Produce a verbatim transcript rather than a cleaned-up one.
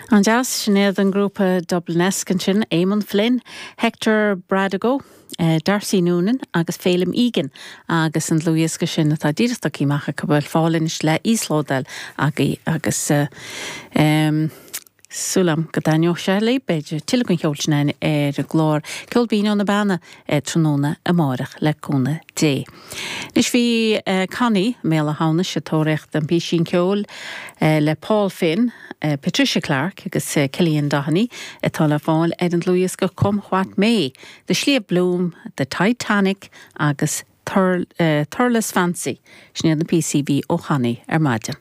An-deas sin iad an grúpa Dublinesque ansin Eamon Flynn, Hector Bradago, uh, Darcy Noonan agus Félim Egan agus an dlúthdhiosca sin atá díreach tagtha amach go bhfuil fáil anois le íoslódáil agaibh agus uh, um, Súil agam go dtaitneoidh sé libh beidh tuilleadh den cheol sin ar an gclár Ceol Binn ó na Beanna tráthnóna amárach le cúnamh Dé. Anois bhí uh, Connie Méala Hánis a tóirecht an písín ceoil uh, le Paul Finn, uh, Patricia Clark agus uh, Killian Doheny atá le fáil ar an dlúthdhiosca Come What May, The Sliabh Bloom, The Titanic agus Thur, uh, Thurles Fancy, sin iad na píosaí ó Connie ar maidin.